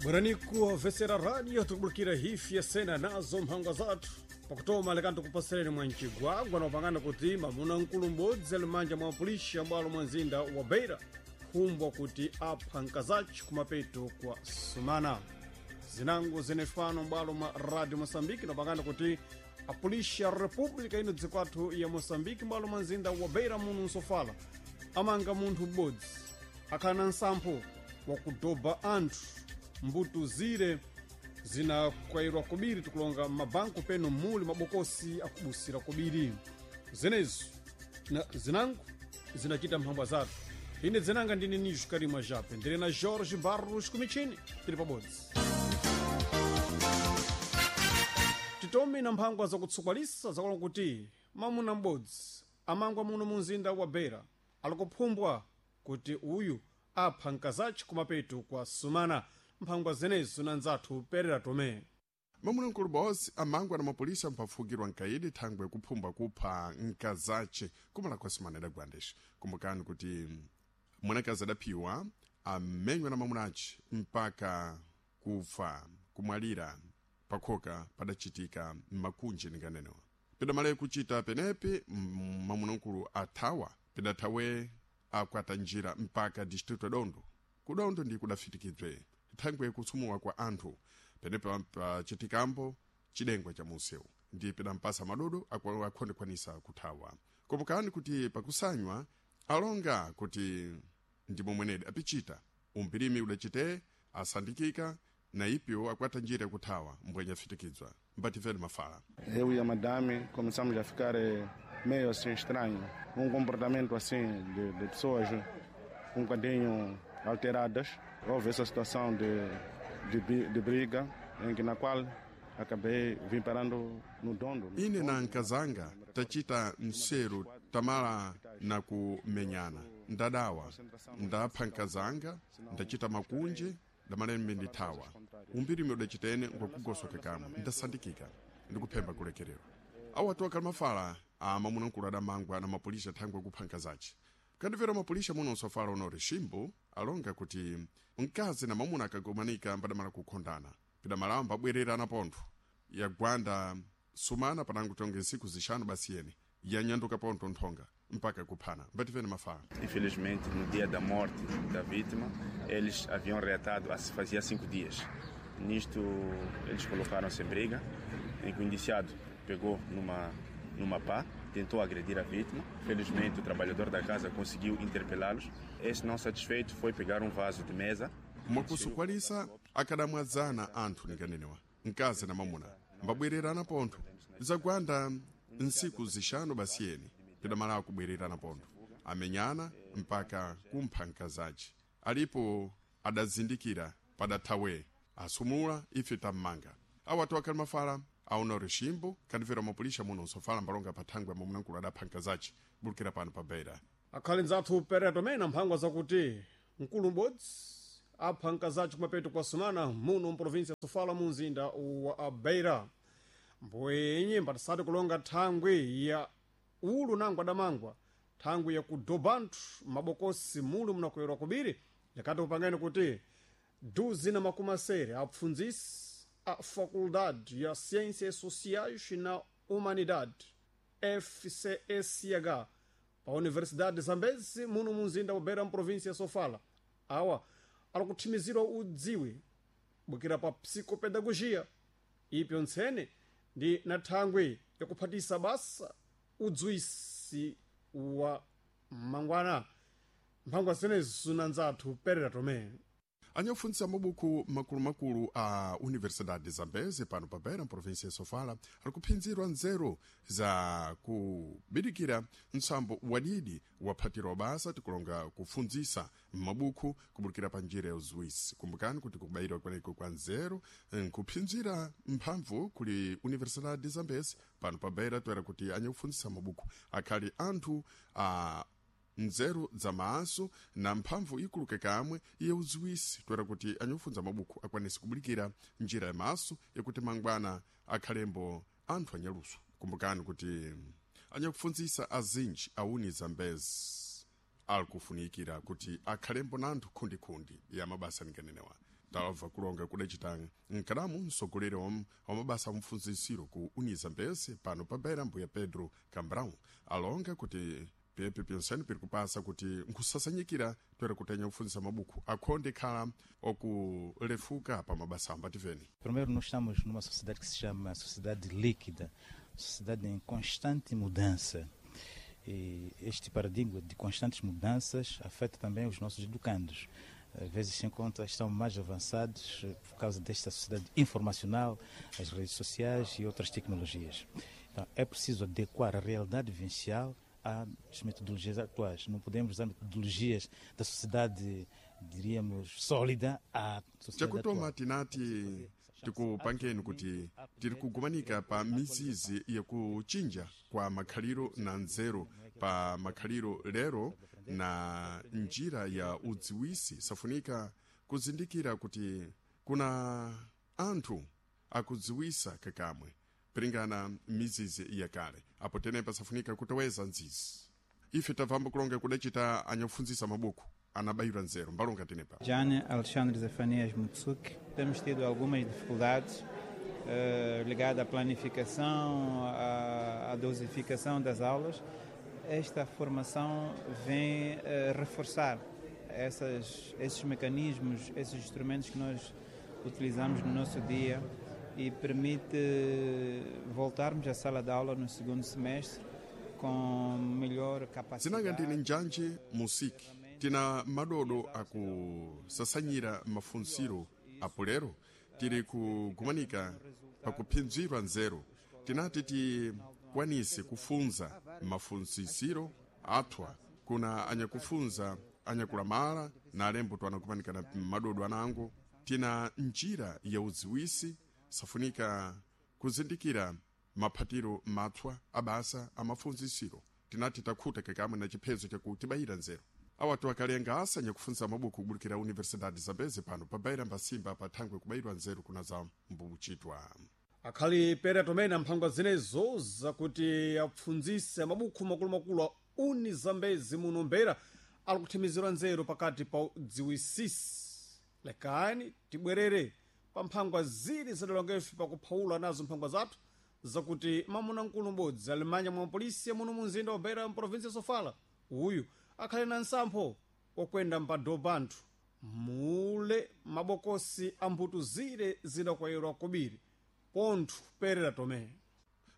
Bweraniku vesera radio tukubulukira hifi ya sena nazo mphangwa zathu pakutoma lekani tikupasereni mwa mcigwagwa na upangana kuti mamuna mkulu m'bodzi ali m'manja mwa polisi ambwalo mwa mzinda wa Beira khumbwa kuti apha mkazaci kumapeto kwa sumana. Zinango zenefano m'bwalo mwa Radio Moçambique napangana kuti apolisi ya República ino dziko athu ya Moçambique m'bwalo mwa mzinda wa Beira muno msofala amanga munthu m'bodzi akhala na nsampho wakudoba anthu mbuto zire zinakwayirwa kubiri tikulonga mabanku peno muli mabokosi akubusira kubiri zenezo na zinango zinachita mphambwa zathu. Ine dzinanga ndine Nijo Karima Jape ndili na Jorge Barros kumichini tili pabodzi. Titome na mphangwa zakutsukwalisa zakulonga kuti mamuna m'bodzi amangwa muno mu mzinda wa Beira alikuphumbwa kuti uyu apha mkazaci kumapeto kwa sumana. Mphangwa zenezo na nzathu Perera Tome. Mamuna mkulu bosi amangwa na mapolisa mpafukirwa nkaidi thangwe kuphumbwa kupha nkazace kumala kwa sumana idagwandesha. Kumbukani kuti mwanakazi adaphiwa amenywa na mamunaci mpaka kufa kumwalira pakhoka padachitika mmakunji ninganenewa. Pidamale kuchita penepi mamuna mkulu athawa pidathawe akwata njira mpaka distrito ya Dondo. Kudondo ndi kudafitikidwe thangwe kutsumuwa kwa anthu penepi pachitikambo chidengwa cha munsewu ndi pidampasa madodo akhondekwanisa kuthawa. Kumbukani kuti pakusanywa alonga kuti ndimo mwenedi apichita umpirimi udachite asandikika na ipyo akwata njira yakuthawa mbwenye afitikizwa mbativeni mafala. Eu e a madame começamos a ficar meio assim estranho, um comportamento assim de pessoas um bocadinho alteradas. Houve essa situação de briga em que na qual acabei vim parando no dondo. Ine na nkazanga tachita mseru tamala na kumenyana, ndadawa ndapha nkazanga, ndachita makunje ndamalembe ndithawa. Umbirimi udachitene ngwakugosoka kamwe ndasandikika ndikuphemba kulekererwa. Awo atu akali mafala a mamuna mkulu adamangwa na mapolisa thangwe kupha nkazace. Kandimvera mapolisa muno nsofala unori Shimbu alonga kuti mkazi na mamuna akagomanika mbadamala kukhondana pidamalawo mbabwererana pontho yagwanda sumana panango tonge nsiku zixanu basi yene yanyanduka pontho nthonga mpaka kuphana. Mbativeni mafala. Infelizmente, no dia da morte da vítima, eles haviam reatado há fazia 5 dias. Nisto, eles colocaram-se em briga, em que o indiciado pegou numa pá, tentou agredir a vítima. Felizmente, o trabalhador da casa conseguiu interpelá-los. Esse não satisfeito foi pegar um vaso de mesa. Mwakusukwalisa akadamwadzana anthu ninganenewa mkazi na mamuna mbabwererana pontho zagwanda nsiku zixanu basi yene pidamalawo kubwererana pontho amenyana mpaka kumpha mkazaci. Alipo adazindikira padathawe asumula ife tammanga. Awo atu akhali mafala aonore Shimbu kandimvera mapolisa muno nsofala mbalonga pathangwe mamunamkulu adapha mkazaci bulukira pano pa Beira. Akhali nzathu Perera Tome na mphangwa zakuti mkulu m'bodzi apha mkazaci kumapeto kwa sumana muno mprovinsia ya Sofala mu mzinda wa Beira. Mbwenye mbatisati kulonga thangwi ya ulu nango adamangwa thangwi ya kudoba anthu mabokosi muli munakwera kubiri yakati kupangeni kuti duzi na makumi asere apfundzisi a Faculdade ya Ciências Sociais na Humanidade FCSH pa Universidade de Zambezi muno mu mzinda wa Beira mprovinsia ya Sofala awa alikuthimizirwa udziwi bukira pa psicopedagogia ipyo ntsene ndi na thangwi yakuphatisa basa udziwisi wa mangwana. Mphangwa zenezo na nzathu Perera Tome. Anyakufundzisa mabuku makulumakulu a Universidade de Zambezi pano pa Beira mprovinsia ya Sofala ali kuphinzirwa nzeru za kubidikira ntsambo wadidi waphatirwa basa tikulonga kufundzisa m'mabuku kubulukira pa njira ya uziwisi. Kumbukani kuti kubayirwa kweneko kwa nzeru nkuphinzira mphamvu kuli Universidade de Zambezi pano pa Beira toera kuti anyakufundzisa mabuku akhali anthu a nzeru za maso na mphamvu ikuluke kamwe iye uziwisi toera kuti anyofunza mabuku akwanise kubulikira njira ya maso yakuti mangwana akhalembo anthu anyaluso. Kumbukani kuti anyakufunzisa azinji auni Zambezi alikufunikira kuti akhalembo na anthu khundikhundi ya mabasa ninganenewa. Talabva kulonga kudacita nkadamu msogoleri wa mabasa amfunzisiro ku Unizambeze pano pa Beira, mbuya Pedro Cambrão alonga kuti pepe pyonsene piri kupasa kuti nkusasanyikira toera kutenya kufunzisa mabuku akhonde khala okulefuka pa mabasa ambativeni. Primeiro, nós estamos numa sociedade que se chama sociedade líquida, sociedade em constante mudança. E este paradigma de constantes mudanças afeta também os nossos educandos. Às vezes, sem conta, estão mais avançados por causa desta sociedade informacional, as redes sociais e outras tecnologias. Então, é preciso adequar a realidade vivencial às metodologias atuais. Não podemos usar metodologias da sociedade, diríamos, sólida à sociedade Chakutoma atual. Tinati tikupangeni kuti tiri kugumanika pa mizizi yakuchinja kwa makhaliro na nzeru pa makhaliro lero na njira ya udziwisi. Safunika kuzindikira kuti kuna anthu akudziwisa kakamwe piringana mizizi yakale, apo tenepa safunika kutoweza nzizi. Ife tabvamba kulonga kudacita anyakufunzisa mabuku anabayira nzeru mbalonga tenepa. Jane Alexandre Zefanias Mutsuki. Temos tido algumas dificuldades ligadas à planificação, à dosificação das aulas. Esta formação vem reforçar esses mecanismos, esses instrumentos que nós utilizamos no nosso dia e permite voltarmos à sala de aula no segundo semestre com melhor Zinanga capacidade. ndine Njanje Musiki. Tina madodo akusasanyira mafunsiro apo lero tiri kugumanika pakuphinzirwa nzeru. Tinati tikwanise kufunza mafunsisiro athwa kuna anyakufunza anyakulamala na alembo twanakumanika na madodo anango. Tina njira ya udziwisi, safunika kuzindikira maphatiro matswa abasa amafunzisiro. Tinati takhuta kakamwe na chiphezo chakutibayira nzeru. Awatu akalenga asa nyakufunza mabuku kubulikira Universidade Zambeze pano pabaira mbasimba pathangwe kubayirwa nzeru kuna za mbuchitwa. Akhali pera tomene mphangwa zinezo zakuti apfundzise mabukhu makulumakulu a Uni Zambezi muno Mbeira ali kuthimizirwa nzeru pakati pa udziwisisi. Lekani tibwerere pa mphangwa ziri zadalongefe pakuphawula nazo mphangwa zathu zakuti mamuna mkulu m'bodzi ali m'manja mwa polisi muno mu mzinda wa Beira mprovinsi ya Sofala uyu akhali na nsampho wokwenda mpadobha anthu mule mabokosi a mbuto zire zidakwayirwa kobiri pontho perera tomene.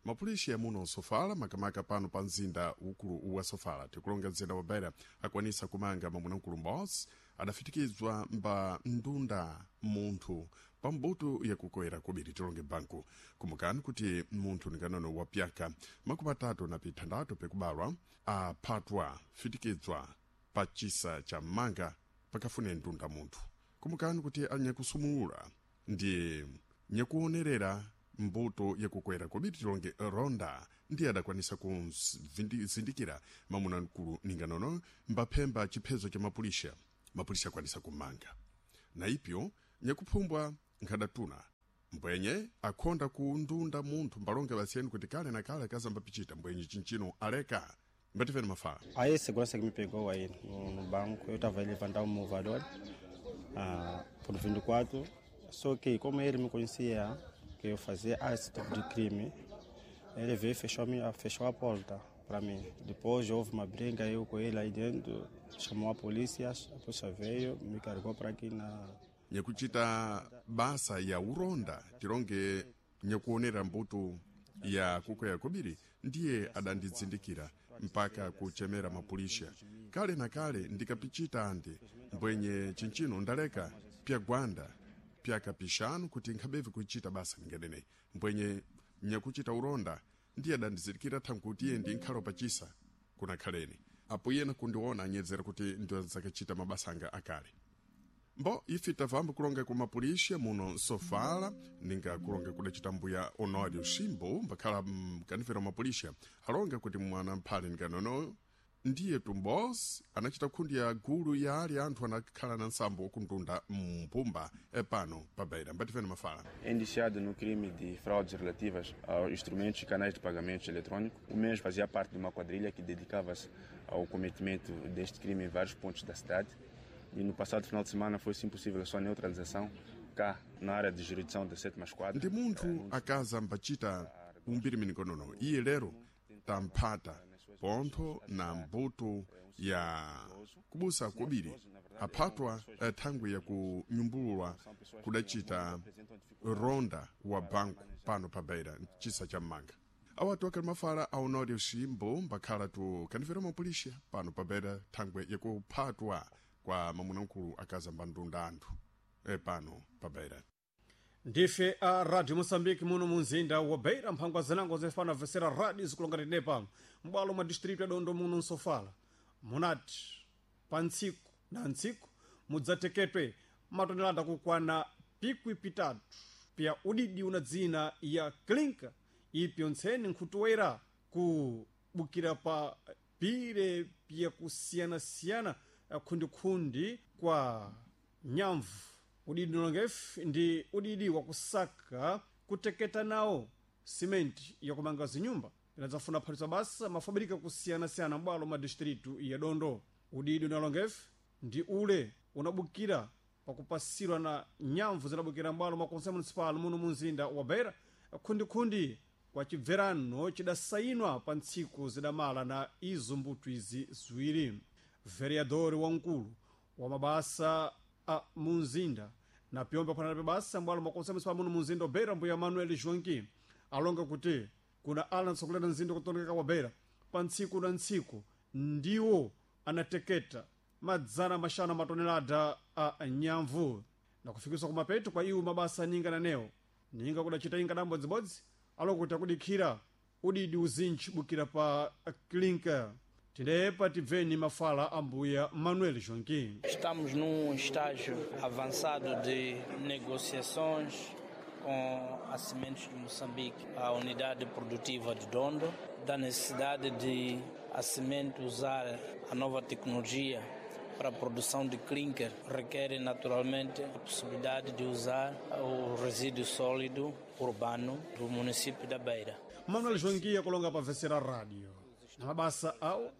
Mapulishi amuno Sofala, makamaka pano pa mzinda ukulu wa Sofala, tikulonga mzinda wa Beira, akwanisa kumanga mwamuna m'bodzi adafitikizwa mba ndunda munthu pa mbuto yakukoera kobiri, tilonge banku. Kumukani kuti munthu nikanono wa pyaka 36 pekubalwa aphatwa fitikizwa pa chisa cha manga pakafune ndunda munthu. Kumukani kuti anyakusumulula ndi nyakuonerera mbuto yakukwera kobiri, tilonge ronda, ndiye adakwanisa kuzindikira mamuna mkulu ninganono mbaphemba chiphezo cha mapulisha. Mapulisha akwanisa kumanga na ipyo nyakuphumbwa nkhadatuna mbwenye akhonda kundunda munthu. Mbalonge basiyeni kuti kale na kale akazambapichita mbwenye chinchino aleka mbatifeni mafala. Aí a segurança que me pegou aí no banco, eu estava a levantar um movador por 24, só que como ele me conhecia, que eu fazia esse tipo de crime, ele veio e fechou a porta para mim. Depois houve uma briga, eu com ele aí dentro, chamou a polícia veio, me carregou para aqui na... Nyakuchita basa ya uronda, tilonge nyakuonera mbuto ya kukwera kobiri, ndiye adandidzindikira mpaka kuchemera mapulisha. Kale na kale ndikapichita andi mbwenye chinchino ndaleka pyagwanda pyakapishanu kuti nkhabevi kuchita basa ningadene mbwenye nyakuchita uronda ndiye adandizindikira thankuti iye ndi nkhalo pachisa kunakhaleni apo iyena kundiona anyedzera kuti ndiwazakachita mabasa anga akale. Mbo ife tavamba kulonga ku mapulisha muno Sofala, ninga kulonga kudacita mbuya Honório Shimbo mbakhala mkanifera mapulisha alonga kuti mwana mphale nikanono ndiye tumbos anachita khundi ya gulu ya ali anthu anakhala na nsambo okundunda mpumba epano pabeira mbatifeni mafala. Indiciado no crime de fraudes relativas aos instrumentos e canais de pagamento eletrônico. O mesmo fazia parte de uma quadrilha que dedicava-se ao cometimento deste crime em vários pontos da cidade. E no passado final de semana foi sim possível a sua neutralização cá na área de jurisdição da sétima esquadra. Ndi munthu akaza mbachita umbiri-minikonono iye lero tamphata pontho na mbuto ya kubusa kobiri aphatwa thangwi ya kunyumbululwa kudacita ronda wa banku pano pa Beira chisa cha mmanga. Awatu akali mafala aonori uximbo mbakhala tu kanifera mapulisha pano pa Beira thangwi yakuphatwa kwa mamunamkulu akaza mbandunda anthu pano pa Beira. Ndife a Radio Moçambique muno munzinda wa Beira, mphangwa zinango zifana vesera radio zikulonga tine pano m'bwalo mwa district ya Dondo muno nsofala munati pa ntsiku na ntsiku mudzateketwe matonelada kukwana pikwi pitatu pya udidi una dzina ya klinka ipyo ntseni nkhutuwera kubukira pa pire pya kusiyanasiyana khundikhundi kwa nyamvu. Udidi unongefu ndi udidi wakusaka kuteketa nawo simenti yakumanga zinyumba inadzafuna phatisa basa mafabirika kusiyanasiyana m'bwalo ma distritu ya Dondo. Udidi unalongefu ndi ule unabukira pakupasidwa na nyamvu zinabukira m'bwalo mwa konse municipal muno munzinda wa Beira khundikhundi kwa chibverano chidasayinwa pa ntsiku zidamala na izo mbuto izi ziwiri. Vereador wamkulu wa mabasa a munzinda na pyombe aphwanana pa basa m'bwalo mwa konse municipal muno munzinda wa Beira mbuya Manuel Joaquim alonga kuti kuna ala ntsogolera mzinda kutonekeka wa Beira pa ntsiku na ntsiku ndiwo anateketa madzana maxanu matonelada a nyamvu na kufikiswa kumapeto kwa iwo mabasa ninga nanewo ninga kudacita inga dambodzibodzi alokuti akudikhira udidi uzinji bukira pa klinka. Tinepa tibveni mafala ambuya Manuel Joaquim. Estamos num estágio avançado de negociações com a Cimentos de Moçambique, a unidade produtiva de Dondo, da necessidade de a Cimento usar a nova tecnologia para a produção de clinker, requer naturalmente a possibilidade de usar o resíduo sólido urbano do município da Beira. Manuel Joaquim kulonga pa vesera rádio na mabasa awo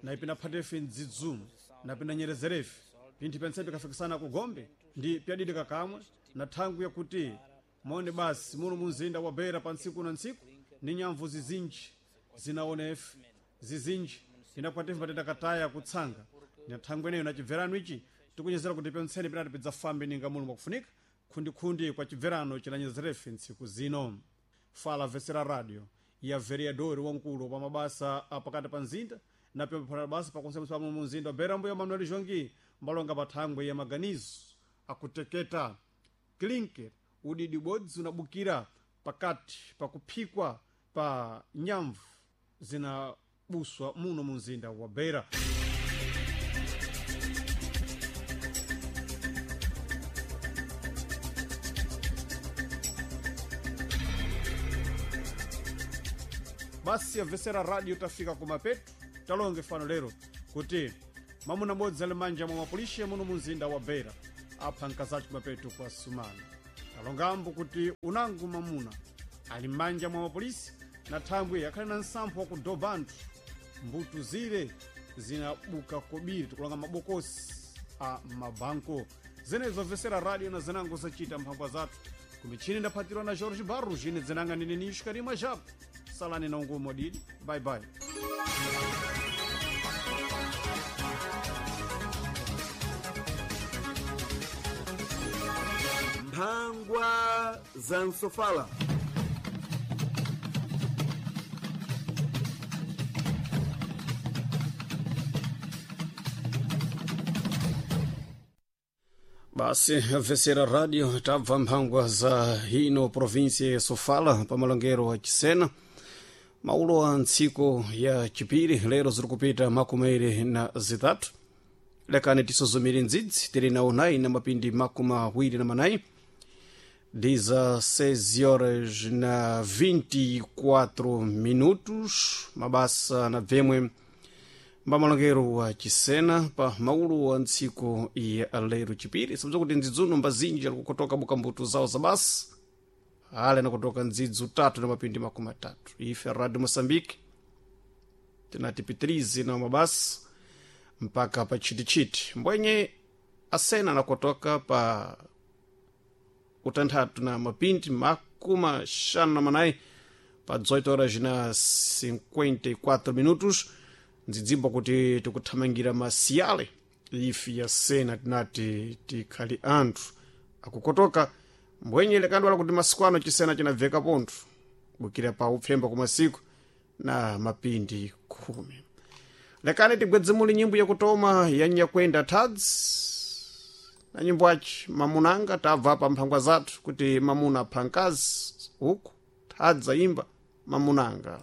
na ipina phatefe mdzidzumu na pina nyerezerefe pinthu pentsepe kafikisana ku Gombe ndi pyadidi kakamwe na thangwi yakuti maone basi muno munzinda wa Beira pa ntsiku na ntsiku ni nyamvu zizinji zinaonefe zizinji inakwatife patenda kataya kutsanga na thangwi ineyo na chibverano ichi tikunyezera kuti pentseni pinati pidzafambe ninga muno mwakufunika khundikhundi kwa chibverano chinanyezerefe ntsiku zino. Fala vesera radio ya vereador wamkulu pa mabasa apakati pa mzinda na pyombe basa pakonse pa munzinda wa Beira mbuya Manuel Joaquim mbalonga pa thangwi ya maganizo akuteketa klinker udidi bodzi unabukira pakati pakuphikwa pa nyamvu zinabuswa muno munzinda wa Beira. Basi yabvesera radio tafika kumapeto talonge fano lero kuti mamuna bodzi ali manja mwa mapulishe muno munzinda wa Beira apha nkazachi kumapeto kwa sumana. Talongambo kuti unangu mamuna ali manja mwa mapolisi na thambwe akhali na nsampho wakudoba anthu mbuto zile zinabuka kobiri tikulonga mabokosi a mabanko. Zenezo vesera radio na zinango zacita mphangwa zathu kumichini ndaphatirwa na Jorge Barros ine dzinanga ndine Nisho Karima Japo. Salani na ungumo didi. Bye bye. Mphangwa za Nsofala. Basi vesera radio tabva mphangwa za hino provinsia ya Sofala pa malongero wa Chisena maulo a ntsiku ya chipiri lero ziri kupita 23 lekani tisozomere ndzidzi tili nawo 9 na mapindi 24 diza 6 horas na 24 minutos mabasa na bvemwe mbamalongero wa Chisena pa maulu wa ntsiku ya lero chipiri sabza kuti ndzidzuno mbazinji ali kukotoka bukambuto zawo za basa ale nakutoka ndzidzu 3 na mapindi 30 ife Radio Moçambique tinati pitirize na mabasa mpaka pa chitichiti mbwenye. Asena nakotoka pa utanthatu na mapindi makumi xanu na manayi pa 18 horas na 54 minutos. Ndzidzimba kuti tikuthamangira masiyale ifi ya sena tinati tikhali anthu akukotoka mbwenye lekandwala kuti masiku ano chisena chinabveka pontho bukira pa upfemba ku masiku na mapindi 10. Lekani tigwedzemuli nyimbo yakutoma ya Nyakwenda Tads na nyimbo aci mamunanga. Tabva pa mphangwa zathu kuti mamuna apha mkazi uku Tads ayimba mamunanga.